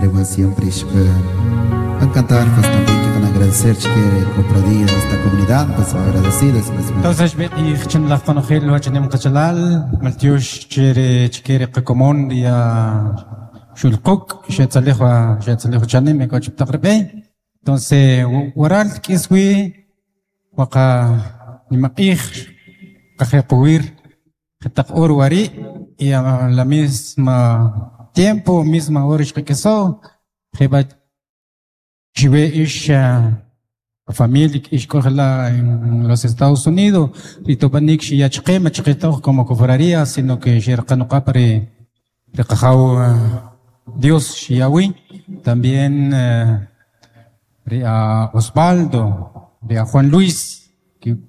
Are siempre van cantar, pues también que van a agradecer que cofradía de esta comunidad, pues agradecidos. Pues, Entonces, b'e q'ij chin laj qonojel wachanim qachalal, maltyox chere chkere qakomon ya xulquk xetzalij wa xetzalij wachanim e k'o chip taq ri b'e. Entonces, waral k'iswi waqa nimaq'ij qajequwir jetaq ur wari' y a la misma tiempo, misma hora xqak'iso, jeb'a chiwe ix familia ix k'o jela' en los Estados Unidos, ri tob'anik xiyachqe ma chqetoj como cofradía, sino que xerqanoqab' ri ri qajaw Dios xiyawi, también ri a Osvaldo, ri a Juan Luis,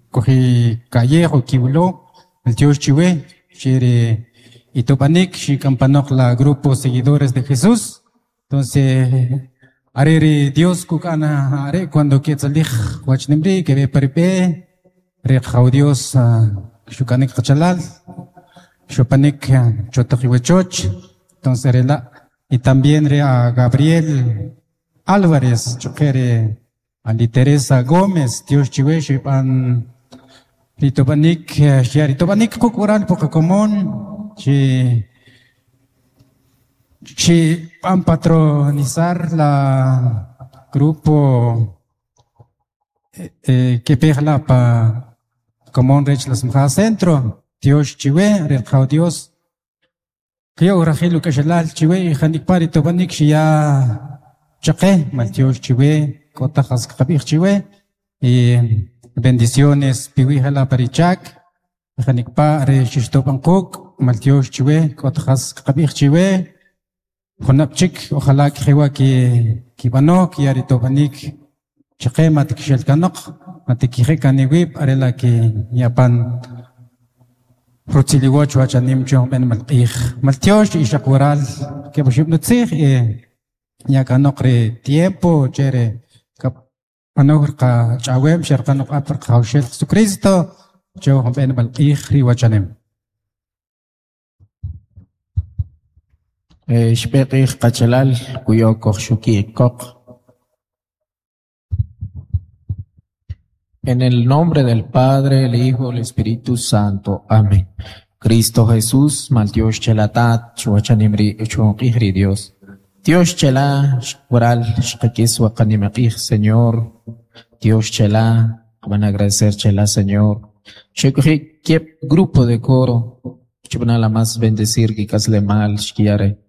koji Callejo kiwlo, el Dios chiwe, xere itob'anik xikampanoq la grupo seguidores de Jesús. Entonces, are ri Dios kuk'ana are cuando ketzalij wachnimri que ve parpe ri qajaw Dios xuk'anik qachalal xupanik chotaq iwachoch. Entonces rela y también ri a Gabriel Álvarez chuqere ali Teresa Gómez Dios chiwe xib'an ritob'anik xya ritob'anik quk' waral puqakomon chi chi b'an patronizar la grupo que pejla pa komon rech las Mja Centro Dios chiwe ri qajaw Dios Kyo rajil uk'axalal chiwe y janikpa ritob'anik xiya chaqe mal Dios chiwe k'o taj jas qab'ij chiwe y bendiciones piwi jela parichak janikpa re xixtob'an quk' mal Dios chiwe k'o taj jas qab'ij chiwe junab' chik ojalá kjewa ki kib'ano kiya ritob'anik chaqe mat kixelkanoq mat kije kaniwib' arela ki yapan rutziliwoch wachanim chon ben malq'ij maltiox ixaq waral keb'oxib' nutzij y yakanoq ri tiempo chere kap'anoj qach'awem xerqanoq ap qajawxel Jesucristo chon ben malq'ij ri wachanem. Xb'e q'ij qachalal kuyo kojxuki koq. En el nombre del Padre, el Hijo, el Espíritu Santo. Amén. Cristo Jesús, mal Dios chelatat, chuachanimri, chuanqijri Dios. Dios chela, waral, xqakis waqanimaqij, Señor. Dios chela, van a agradecer chela, Señor. Xekuji, kep grupo de coro, chubana la más bendecir, que casle mal, xkiare.